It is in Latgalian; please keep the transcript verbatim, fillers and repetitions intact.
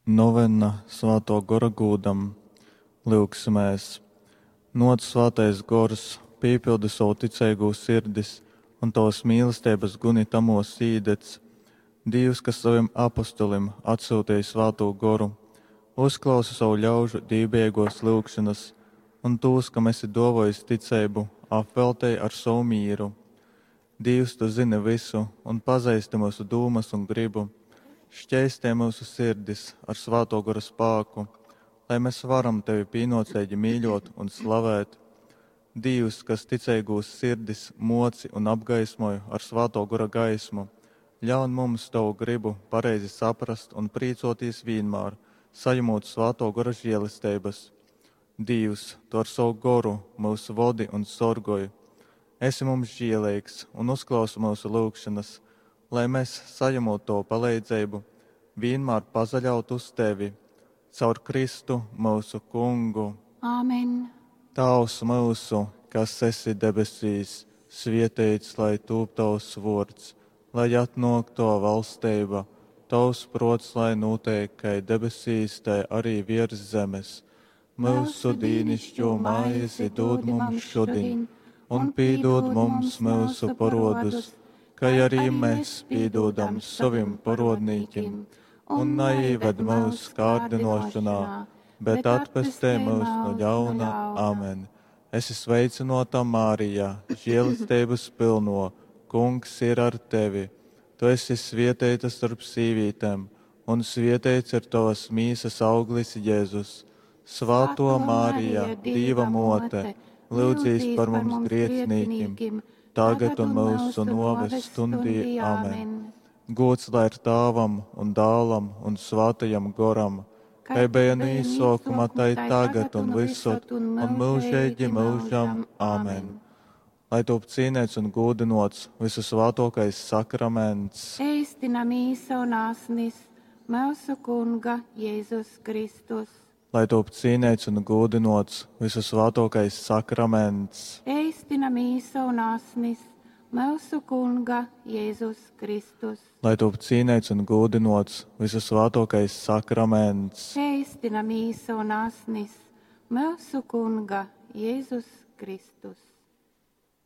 Novenna Svātō Gora gūdam. Lyugsimēs! Nōc, Svātais Gors, pīpildi sovu ticeigū sirdis un tovas mīlesteibas guni tamōs īdedz. Dīvs, kas sovim apostolim atsyuteji Svātū Goru, uzklausi sovu ļaužu dīvbejeigōs lyugšonas un tūs, kam esi dōvōjis ticeibu, apveltej ar sovu mīru. Dīvs, tu zyni vysu un pazeisti myusu dūmas un grybu. Škeistej myusu sirdis ar Svātō Gora spāku, lai mes varam tevi pīnōceigi mīļōt un slavēt. Dīvs, kas ticeigūs sirdis mōci un apgaismoj ar Svātō Gora gaismu, ļaun mums tovu grybu pareizi saprast un prīcōtīs vīnmār, sajamūt Svātō Gora želesteibas. Dīvs, tu ar sovu Goru myus vodi un sorgoj. Esi mums žieleigs un uzklausi myusu lyugšonas, lai mes, sajamūt tovu paleidzeibu, vīnmār pasaļautu uz tevi. Caur Kristu, myusu Kungu. Āmen. Tāvs myusu, kas esi debesīs, svieteits lai tūp tovs vuords, lai atnuok tova valsteiba, tovs pruots lai nūteik kai debesīs, tai ari viers zemes. Myusu dīnišķū maizi dūd mums šudiņ, un pīdūd mums myusu porodus, kai arī mēs pīdūdam sovim porodnīkim, un naīved myusu kārdinošanā, bet atpestej myus no ļauna. Amen. Esi sveicināta, Marija, žēlestības pilno, Kungs ir ar tevi. Tu esi svietēta starp sīvītēm, un svietēts ir tavas mīsas auglis Jēzus. Svāto Marija, Dieva mote, lūdzīs par mums grēciniekiem, tagad un mūsu noves stundī. Amen. Gods lai ir Tāvam un Dālam un Svātajam Goram, kai bija no īsākuma, tai tagad un visur, un mūžīgi mūžam. Amen. Lai top cīnīts un gūdinots visu svātokais sakraments. Eistina mīsa un asnis, mūsu Kunga Jēzus Kristus. Lai top cīnīts un gūdinots visu svātokais sakraments. Eistina mīsa un asnis, mūsu Kunga Jēzus Kristus. Lai top cīnīts un gūdinots visu svātokais sakraments. Eistina mīsa un asnis, mūsu Kunga Jēzus Kristus.